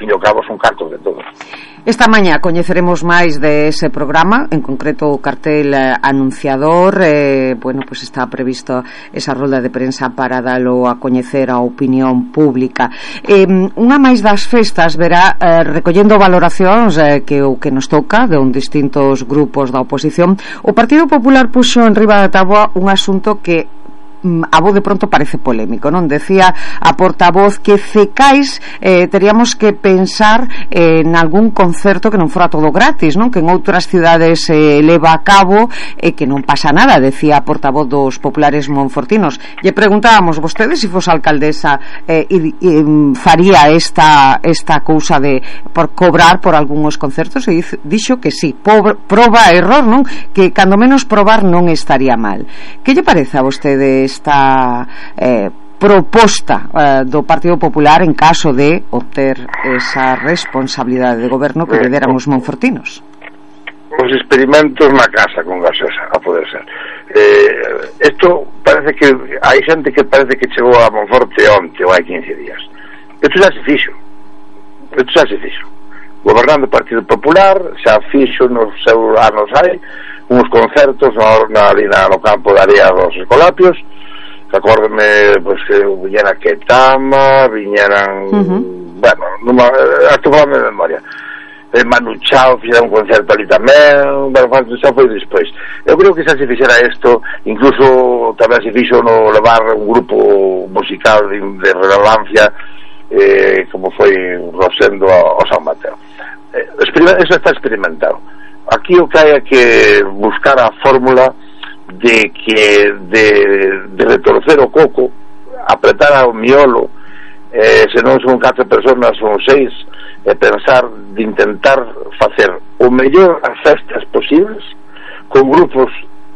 fin e ao cabo son cartos de todos. Esta mañá coñeceremos máis de ese programa, en concreto o cartel anunciador. Bueno, pues está previsto esa rolda de prensa para dalo a coñecer a opinión pública. Unha máis das festas verá recollendo valoracións que o que nos toca de distintos grupos da oposición. O Partido Popular puxo en riba da táboa un asunto que a voz de pronto parece polémico, non? Decía a portavoz que Cecais teríamos que pensar en algún concerto que non fora todo gratis, non? Que en outras cidades leva a cabo e que non pasa nada, decía a portavoz dos populares monfortinos. Lle preguntábamos, vostede se fose alcaldesa faría esta cousa de por cobrar por algúns concertos, e dixo que sí, proba error, non? Que cando menos probar non estaría mal. Que lle parece a vostede esta proposta do Partido Popular en caso de obter esa responsabilidade de goberno que lle déramos monfortinos? Os experimentos na casa con gasosa, a poder ser. Isto parece que hai xente que parece que chegou a Monforte onte ou hai 15 días. Isto xa se fixo. Gobernando o Partido Popular xa fixo nos seus anos hai uns concertos no campo de area dos Escolapios. Acórdeme, pues, que viñera Ketama, viñeran bueno, hasta falando de memoria, Manu Chao fixera un concerto ali tamén, bueno, xa foi despois. Eu creo que xa se fixera isto, incluso tamén se fixo no levar un grupo musical de relevancia como foi Rosendo ao San Mateo. Eso está experimentado. Aquí o que hai é que buscar a fórmula de retorcer o coco, apretar ao miolo, se non son 4 personas, son 6, e pensar de intentar facer o mellor as festas posibles con grupos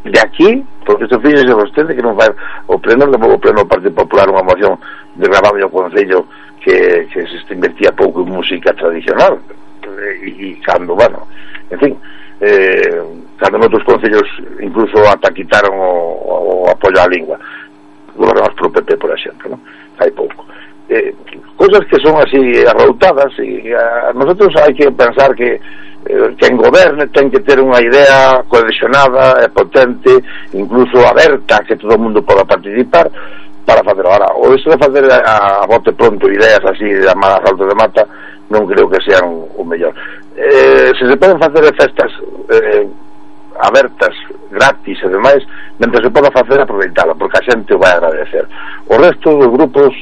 de aquí, porque isto fíxese vostede que non vai o pleno do Partido Popular unha moción de gravable ao Concello que se invertía pouco en música tradicional, e cando, bueno, en fin, cando noutros concellos incluso ata quitaron o apoio á lingua, gobernados por o PP, por exemplo, non? Hai pouco. Cousas que son así arroutadas, e a nosotros hai que pensar que quen goberne ten que ter unha idea cohesionada e potente, incluso aberta, que todo o mundo poda participar para facer. Ahora, o iso de facer a bote pronto ideas así de amadas alto de mata non creo que sean o mellor. Se poden facer festas abertas, gratis e demais, mentre se poda facer, aproveitala, porque a xente o vai agradecer. O resto dos grupos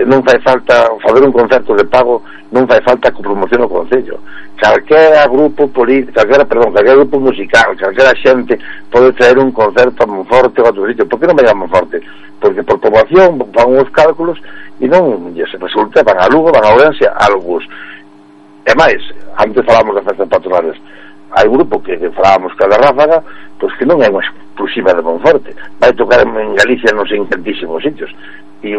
non fai falta fazer un concerto de pago, non fai falta que promocione o Concello. Calquera grupo político, calquera grupo musical, calquera xente pode traer un concerto a Monforte ou a outro sitio. Por que non vai a Monforte? Porque por poboación van uns cálculos e non se resulta, van a Lugo, van a Ourense, algúns. E máis, antes falamos de festas patronales, hai grupo que falábamos que a da Ráfaga, pois que non é unha exclusiva de Monforte, vai tocar en Galicia non sei en tantísimos sitios, e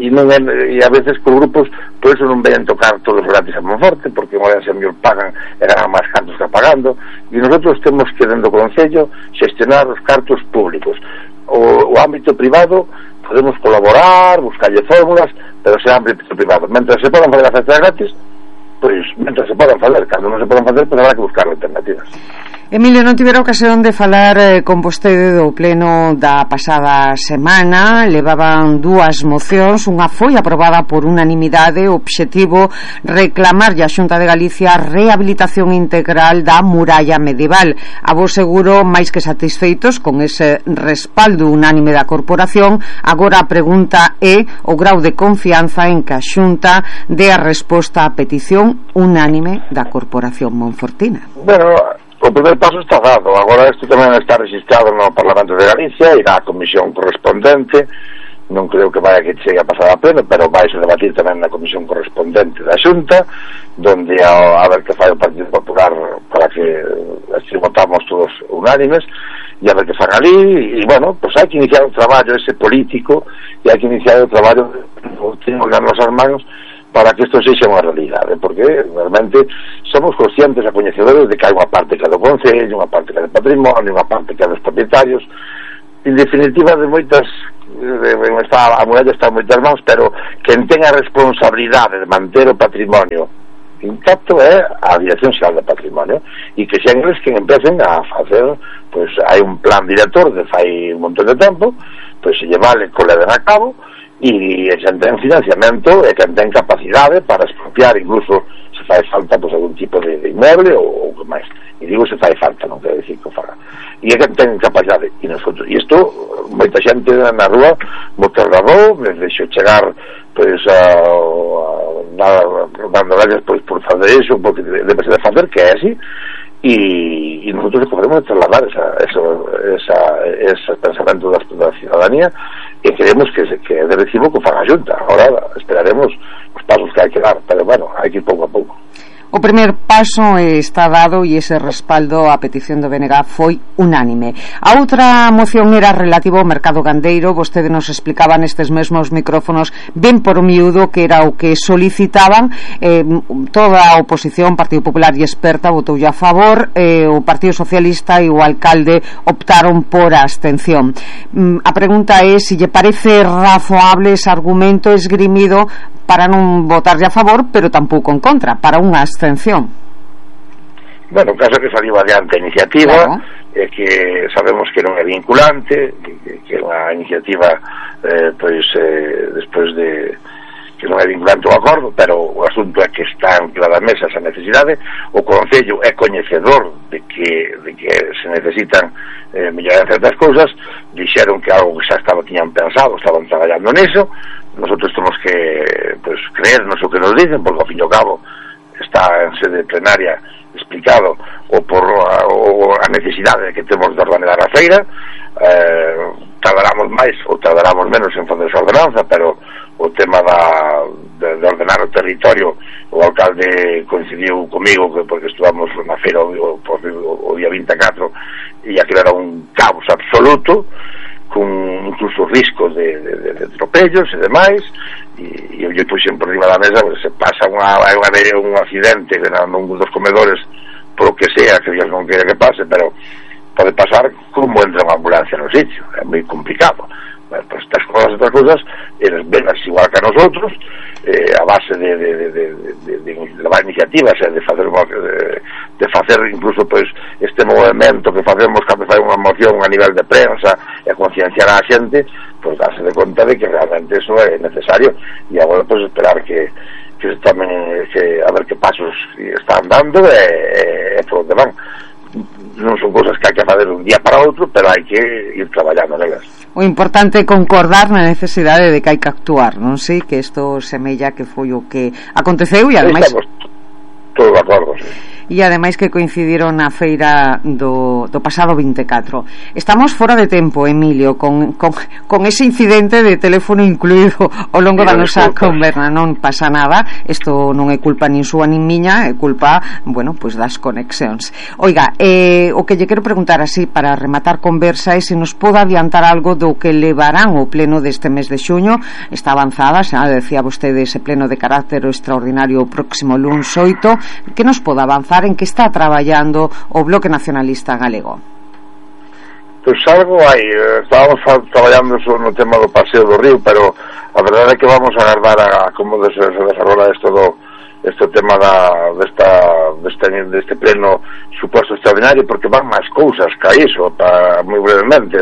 non é, e a veces que os grupos por eso non veñen tocar todos gratis a Monforte, porque en Ourense a mellor pagan e ganan máis cartos que pagando, e nosotros temos que dentro do Concello xestionar os cartos públicos. O ámbito privado podemos colaborar, buscarlle fórmulas, pero será ámbito privado. Mentre se podan fazer as festas gratis, pois mentre se podan fazer, cando non se podan facer, pois habrá que buscar alternativas. Emilio, non tivera ocasión de falar con vostede do pleno da pasada semana. Levaban 2 mocións, unha foi aprobada por unanimidade, o obxectivo reclamarlle á Xunta de Galicia a rehabilitación integral da muralla medieval. A vos seguro máis que satisfeitos con ese respaldo unánime da corporación. Agora a pregunta é o grau de confianza en que a Xunta dé a resposta á petición unánime da corporación monfortina. Bueno, o primer paso está dado. Agora isto tamén está registrado no Parlamento de Galicia, irá á comisión correspondente. Non creo que vaya que chegue a pasar a pleno, pero vai a debatir tamén na comisión correspondente da Xunta, donde a ver que fai o Partido Popular para que así votamos todos unánimes, e a ver que fan ali. E bueno, pues hai que iniciar o traballo ese político, e hai que iniciar o traballo que nas nosas manos para que isto sexa unha realidade, porque realmente somos conscientes e coñecedores de que hai unha parte que é do Concello, unha parte que é do patrimonio, unha parte que é dos propietarios, en definitiva de moitas a muralla está en moitas mãos, pero quen ten a responsabilidade de manter o patrimonio intacto é a Dirección Xeral de Patrimonio, e que xen eles que empecen a facer, pois hai un plan director de fai un montón de tempo, pois se lle vale que o leven a cabo, e xen ten financiamento e quen ten capacidade para expropiar, incluso se fai falta pois algún tipo de inmueble ou que máis, e digo se fai falta, non quero dicir que o faga, e quen ten capacidade, e nosotros, e isto moita xente na rúa moita rarou, me deixo chegar pois dando gracias pois por fazer iso, porque debe ser de facer, que é así, e nosotros podemos trasladar ese pensamento da ciudadanía, e queremos que de recibo que faga a Xunta. Ahora esperaremos os pasos que hai que dar, pero bueno, hai que ir pouco a pouco. O primer paso está dado e ese respaldo á petición do BNG foi unánime. A outra moción era relativo ao mercado gandeiro. Vostede nos explicaba nestes mesmos micrófonos ben por miúdo que era o que solicitaban. Toda a oposición, Partido Popular e Experta, votoulle a favor. O Partido Socialista e o alcalde optaron por a abstención. A pregunta é se lle parece razoable ese argumento esgrimido para non votarlle a favor, pero tampouco en contra, para unha abstención. Bueno, o caso que saliu adiante a iniciativa, claro, que sabemos que non é vinculante, que é unha iniciativa despois de que non é vinculante o acordo, pero o asunto é que está en cada mesa esa necesidade. O Concello é coñecedor de que se necesitan mellorar certas cousas. Dixeron que algo que xa tiñan pensado, estaban traballando niso. Nosotros temos que creernos o que nos dicen, porque ao fin e ao cabo está en sede plenaria explicado a necesidade que temos de ordenar a feira. Tardaramos máis ou tardaramos menos en fazer esa ordenanza, pero o tema de ordenar o territorio, o alcalde coincidiu comigo porque estuvamos na feira o día 24 e aquilo era un caos absoluto, con incluso riscos de atropellos e demais, e eu puxen por riba da mesa, se pasa un accidente nun dos comedores, por o que sea, que Dios non quere que pase, pero pode pasar como entra unha ambulancia no sitio, é moi complicado. Bueno, pues estas cosas eles ven igual que a nosotros, a base de levar iniciativas, de facer incluso pues este movimento que facemos cando fai unha moción a nivel de prensa e a concienciar a xente, pues darse de conta de que realmente eso é necesario, e agora pues esperar que se tomen a ver que pasos están dando e por onde van. Non son cosas que hai que fazer un día para outro, pero hai que ir traballando nelas. O importante é concordar na necesidade de que hai que actuar, non sei, que isto semella que foi o que aconteceu e ademais estamos todos de acordo, sí. E ademais que coincidiron na feira do pasado 24. Estamos fora de tempo, Emilio, con ese incidente de teléfono incluído ao longo da nosa conversa. Non pasa nada, isto non é culpa nin súa nin miña, é culpa, bueno, pois das conexións. Oiga, o que lle quero preguntar así para rematar conversa é se nos pode adiantar algo do que levarán o pleno deste mes de xuño. Está avanzada, xa decía vostede, ese pleno de carácter extraordinario o próximo luns 8, que nos pode avanzar en que está traballando o Bloque Nacionalista Galego? Pois algo hai, estábamos traballando no tema do paseo do río, pero a verdade é que vamos a agardar a como se desarrolla este tema deste pleno suposto extraordinario, porque van máis cousas que iso, moi brevemente,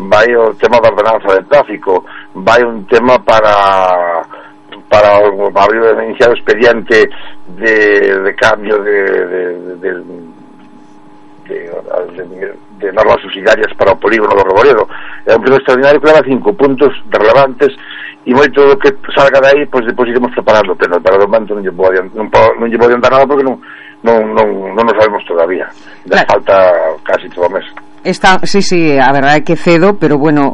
vai o tema da ordenanza de tráfico, vai un tema para iniciar o expediente de cambio de normas subsidiarias para o polígono do Reboredo. É un pleno extraordinario que leva 5 puntos relevantes, e moito do que salga de aí, pois depois iremos preparando, pero de momento non lle vou adiantar nada porque non nos sabemos todavía. Claro. Falta casi todo o mes. Sí, a verdade é que cedo, pero bueno,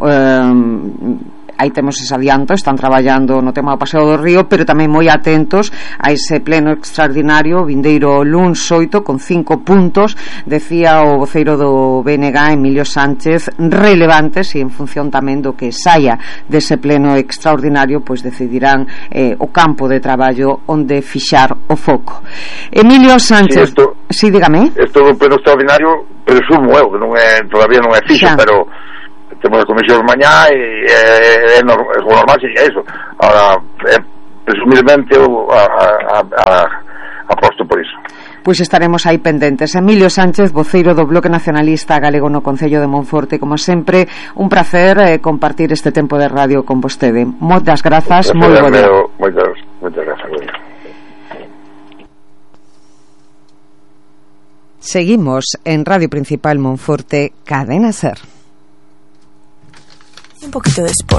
aí temos ese adianto, están traballando no tema do paseo do río, pero tamén moi atentos a ese pleno extraordinario vindeiro luns 8 con 5 puntos, decía o voceiro do BNG, Emilio Sánchez, relevantes, e en función tamén do que saia dese pleno extraordinario, pois decidirán o campo de traballo onde fixar o foco. Emilio Sánchez, dígame. Isto do pleno extraordinario presumo eu, que todavía non é fixo, pero temos a comisión mañá e é normal sería iso. Ahora, presumiblemente aposto por iso. Pois estaremos aí pendentes. Emilio Sánchez, voceiro do Bloque Nacionalista Galego no Concello de Monforte, como sempre, un placer compartir este tempo de radio con vostede. Moitas grazas, moi bo día. Moitas grazas. Seguimos en Radio Principal Monforte, Cadena Ser. Un poquito de sport.